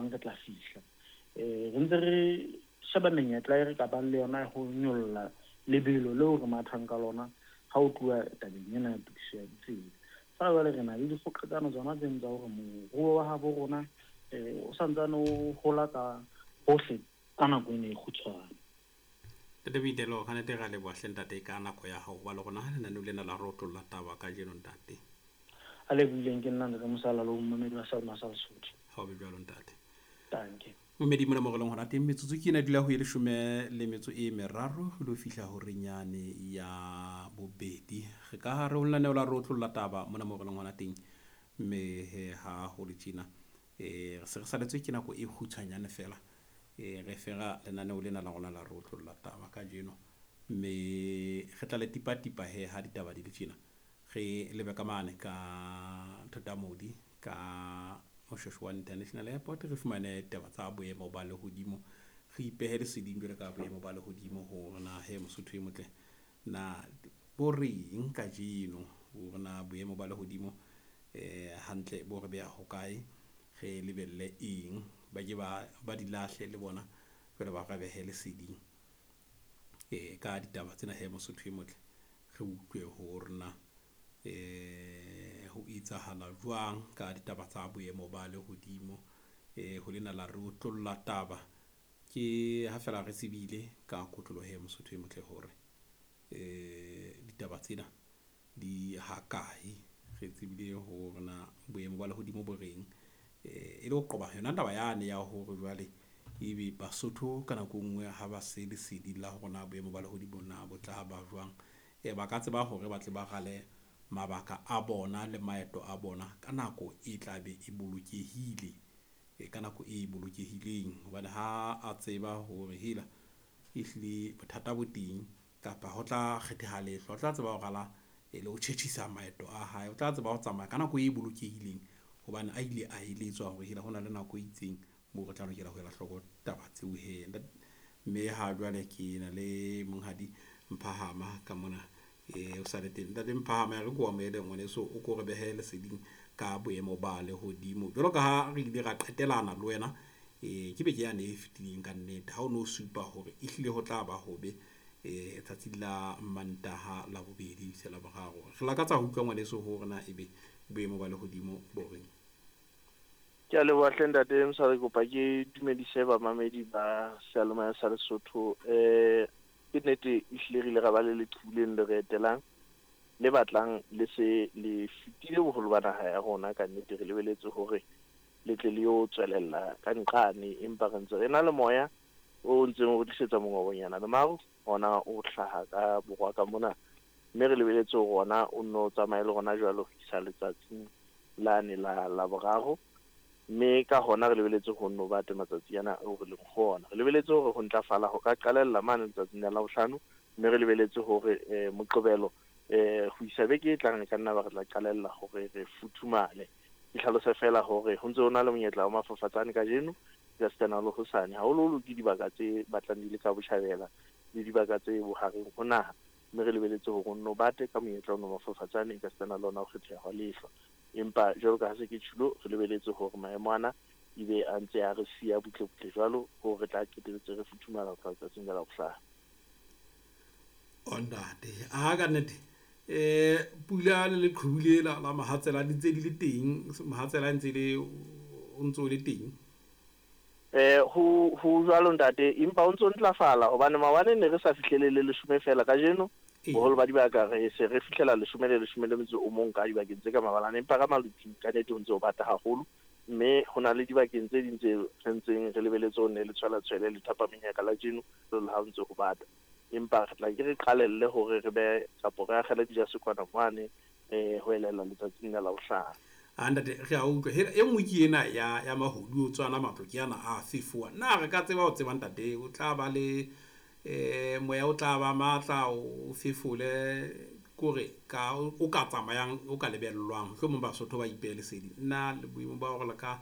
jwang re tla fihla. Re ntse re sheba menyetla e re ka bang le yona ya ho nyolla lebelo leo re mathang ka lona ha ho tluwa tabeng ena ya tokiso ya ditsela. Feela jwale re na le dikgoqetsano tsona tseno tsa hore moruo wa habo rona o santsane o hola ka hohle ka nako ena e kgutshwane. Ntate Boitelo, ka nnete re a leboha hle ntate ka nako ya hao ho ba le rona lenaneong lena la re otlolla taba kajeno ntate. A lebohileng ke nna Ntate Mosala le momamedi wa Selma sa Lesotho. Ha o be jwalo ntate. Dankie. Momedi mona mo re leng hona teng metsotso ke ena dula ho e leshome le metso e meraro ho lo fihla horeng yane ya bobedi. Re ka hare ho lenaneo la re otlolla taba mona mo re leng hona teng mme he ha ho le tjena re se re saletswe ke nako e kgutshwanyane fela. Re fera lenaneo lena la rona la re otlolla taba kajeno mme re tla le tipatipa he ha ditaba di le tjena. Re lebe ka mane ka Thotamodi ka Moshoeshoe International Airport re fumane taba tsa boemo ba lehodimo. Re ipehe leseding jwalo ka boemo ba lehodimo hore na he Mosotho e motle na bo reng kajeno hore na boemo ba lehodimo hantle bo re beha hokae, re lebelle eng, ba ke ba di lahle le bona jwale ba re behe leseding ka ditaba tsena he Mosotho e motle. Re utlwe hore na ho etsahala jwang ka ditaba tsa boemo ba lehodimo ho lena la re otlolla taba. Ke ha fela re tsebile ka kotloloho he Mosotho e motle hore ditaba tsena di hakae. Re tsebile hore na boemo ba lehodimo bo reng e le ho qoba yona taba yane ya hore jwale ebe Basotho ka nako e nngwe ha ba se lesedi la hore na boemo ba lehodimo na bo tla ba jwang. Ba ka tseba hore ba tle ba rale mabaka a bona le maeto a bona ka nako e tla be e bolokehile, ka nako e bolokehileng. Hobane ha a tseba hore hela ehlile bothata bo teng kapa ho tla kgetheha lehlwa, o tla tseba ho rala le ho tjhetjhisa maeto a hae. O tla tseba ho tsamaya ka nako e bolokehileng hobane a ile a eletswa hore hela hona le nako e itseng moo re tla lokela ho ela hloko taba tseo he. Mme ha jwale ke na le monghadi Mphahama ka mona o sa le teng. Ntate Mphahama, e re ke o amohele ngwaneso, o ko re behe leseding ka boemo ba lehodimo. Jwalo ka ha re ile ra qetelana le wena ke beke yane e fetileng ka nnete ha o no supa hore ehlile ho tla ba hobe tsatsing la Mantaha, la bobedi se la boraro. Re lakatsa ho utlwa ngwaneso hore na ebe boemo ba lehodimo bo reng. Ke a leboha hle ntate Mosala, ke kopa ke dumedise bamamedi ba seyalemoya sa Lesotho. Ke nnete ehlile re ile ra ba le leqhubu leno le re etelang le batlang le se le fetile boholo ba naha ya rona. Ka nnete re lebeletse hore le tle le yo tswelella ka nqane, empa re ntse re na le moya o ntseng o re tlisetsa mongobonyana le maru ona o hlaha ka borwa ka mona, mme re lebeletse hore ona o nno tsamaye le rona jwalo ho isa letsatsing lane la Laboraro. Mme ka hona re lebeletse ho nno bate matsatsi ana ao re leng ho ona. Re lebeletse hore ho ntlafala ho ka qalella mane letsatsing la Labohlano, mme re lebeletse hore Moqebelo ho isa beke e tlang re ka nna ba re tla qalella hore re futhumale. Ke hlalose fela hore ho ntse ho na le monyetla wa mafafatsane kajeno ka sitana le hosane, haholoholo ke dibaka tse batlang di le ka botjhabela le dibaka tse bohareng ho naha, mme re lebeletse hore o nno bate ka monyetla ono mafafatsane ka sitana le ona ho kgetheha hwa lehlwa. Empa jwalo ka ha se ke tjhilo, re lebeletse hore maemo ana ebe a ntse a re siya butle-butle jwalo hore re tla qetelletse re futhumala ho tloha letsatsing la Labohlano. O ntate, a ka nnete pula le leqhubu lela la mohatsela di ntse di le teng, mohatsela ntse le o ntso o le teng. Ho jwalo ntate, empa o ntso ntlafala hobane maobane ne re sa fihlele le leshome fela, kajeno boholo ba dibaka re se re fihlela leshome le leshome le metso o mong ka dibakeng tse ka mabalane, empa ka maluti ka nnete ho ntse ho bata haholo, mme ho na le dibakeng tse ding tse re ntseng re lebeletse ho nne le tshwela-tshwele le thapameng la jeno le ha ho ntse ho bata. Empa re tla ke re qalelle hore re be kapo re akgele dijase kwana mane ho elella letsatsing la Labohlano. A ntate, re a utlwa. Hela e nngwe ke ena ya mahodu o tswana matlo ke ana a fefowa. Na re ka tseba ho tseba ntate, o tla ba le moya o tla ba matla o fefole kore ka o ka tsamayang o ka lebellwang mohlomong Basotho ba ipehe lesedi. Nna le boemo ba hore le ka